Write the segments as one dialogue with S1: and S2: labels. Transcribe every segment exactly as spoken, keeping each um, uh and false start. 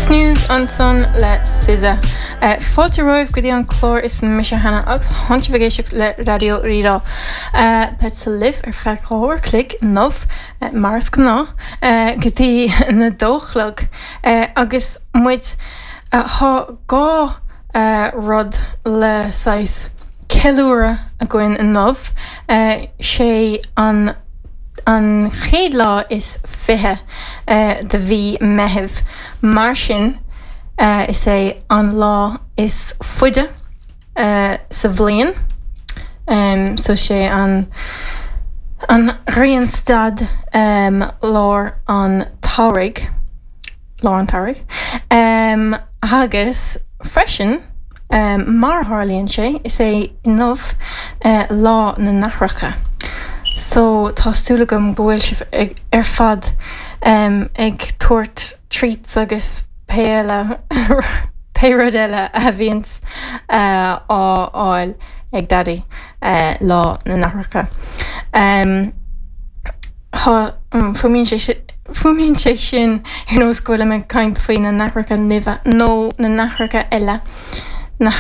S1: Snooze ansan le SZA. Uh, Fáilte romhaibh go dtí an clár is mise Hannah agus tá sibh ag éisteacht le Raidió Rí-Rá. Uh, Beidh libh ar feadh dhá uair chloig inniu uh, mar is gnáth uh, go dtí na dó chlog uh, agus muid uh, tá dhá uh, rud le saghas ceiliúradh againn inniu uh, sé an an chéad lá is fiche uh, de mhí Meitheamh. Mar sin uh, is é an lá is faide uh, sa bhliain. Um, so sé an an ghrianstad um, lár an tsamhraidh lár an tsamhraidh. Um, agus freisin um, mar tharlaíonn sé is é inniu uh, lá na n-aithreacha. So tá súil agam go bhfuil sibh ag, ar fad um, ag tabhairt treats agus pé eile pé rud eile a bhíonns uh, á fháil ag Daddy uh, lá na n-aithreacha. Um, Fuaimíonn sé fuaimíonn sé sin ar nós go bhfuil ag caint faoi na naithreacha nimhe nó na naithreacha eile na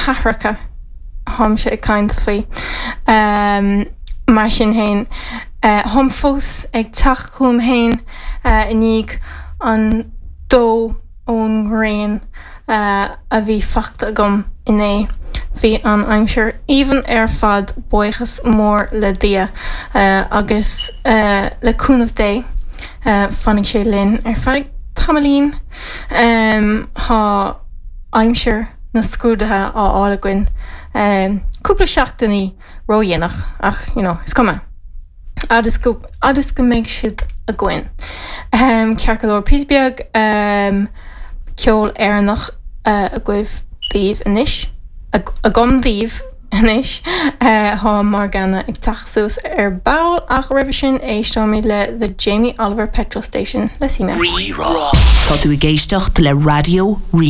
S1: haithreacha atáimse ag caint faoi. Um, mar sin féin uh, táim fós ag teacht chugam féin uh, i ndiaidh an dó ón ngrian uh, a bhí faighte agam inné. Bhí an aimsir aoibhinn ar fad buíochas mór le Dia uh, agus uh, le cúnamh Dé uh, fanfaidh sé linn ar feadh tamaillín um, tá aimsir na scrúduithe á fháil againn um, cúpla seachtainí ródhéanach ach you know, is cuma. Agus go agus go mbeidh siad againn. Um, Ceart go leor píosa beag um, ceol Éireannach uh, agaibh daoibh anois agam daoibh anois uh, tá Morgana ag teacht suas ar ball ach roimhe sin éisteoimid le The Jamie Oliver Petrol Station le Si
S2: Tá tú ag éisteacht le Raidió Rí